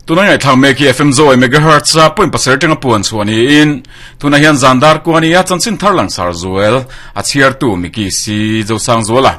Tuna ngaihthlak mek hi FM Zoe megahertz a point pasarih atanga puan chhuah niin tunah hian zan dar kua ania chanchin thar langsar zual a chhiartu Miki C Zosangzuala.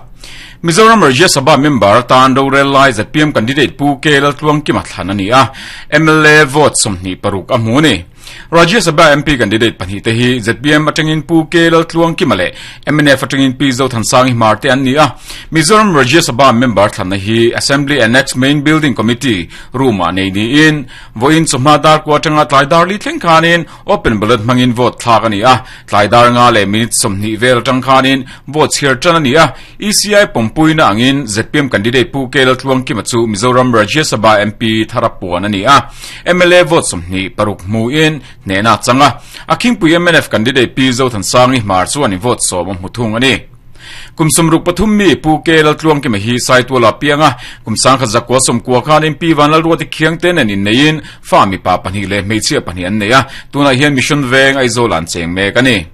Mizoram Rajya Sabha member atan rorel lai zpm candidate Pu K Laltluangkima thlan a ni a, mla vote 26 a hmu a ni. Rajya Sabha MP candidate pahnihte hi zpm atangin Pu K Laltluangkima leh mnf atangin Pi Zothansangi Hmar te an ni a. Mizoram Rajya Sabha member thlanna hi Assembly Annex Main Building Committee room-ah nei niin vawiin chawhma dar kua atanga tlai dar li thleng khanin open ballot hmangin vote thlak a ni a. Tlai dar nga leh minute 20 vel atang khanin vote chhiar tan a ni a. ECI pawmpuina angin zpm candidate Pu K Laltluangkima chu Mizoram Rajya Sabha MP thar a puan a ni a. Mla vote 26 hmuin hnehna a chang a. A khingpui mnf candidate Pi Zothansangi Hmar chuan vote 10 a hmu thung a ni. Kum 63 mi Pu K Laltluangkima hi Saituala piang a, kum 1990 khanin Pi Vanlalruati Khiangte nen inneiin fa mipa pahnih leh hmeichhia pahnih an nei a, tunah hian Mission Veng Aizawl an cheng mek a ni.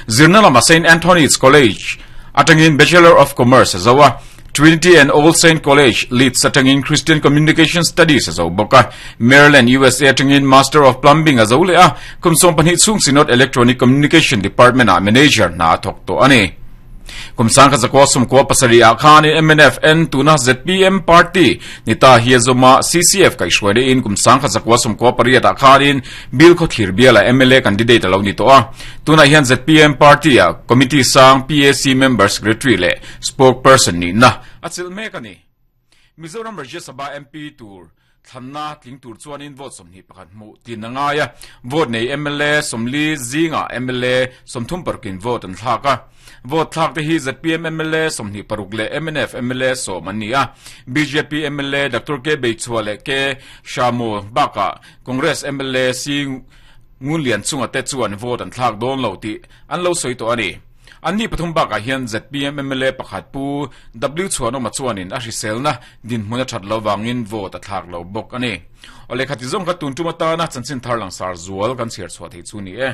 Zirna lama Saint Anthony's College atangin Bachelor of Commerce a zo a, Trinity and All Saint College, Leeds atangin Christian Communication Studies a zo bawk a, Maryland, USA atangin Master of Plumbing a zo leh a, kum 12 chhung Synod Electronic Communication Department-ah manager hna a thawk tawh a ni. Kum 1997 ah khan mnf N tuna zpm party ni ta hi a zawm a, CCF kaihhruai lehin kum 1998 ah khanin Bill Khawthlir biala mla candidate a lo ni tawh a. Tunah hian zpm party ah committee sang PAC member secretary leh spokesperson nihna a chilh mek a ni. Mizoram Rajya Sabha MP tur thlanna tling tur chuanin vote 21 hmuh tin a ngai a, vote nei mla 40 zingah mla 36 in vote an thlak a. Vote thlak te hi zpm mla 26 leh mnf mla 10 an ni a. Bjp mla Doctor K Beichhua leh K Shamu bakah Congress mla C Ngunlian chunga te chuan vote an thlak dawn lo tih an lo sawi tawh a ni. Anni pathum bakah hian zpm mla pakhat Pu W Chhuanawma chuanin a hriselna dinhmun a that lo vangin vote a thlak lo bawk a ni. Aw lehkha ti zawng kha tun tum atana chanchin thar langsar zual kan chhiar chhuah theih chu ni e.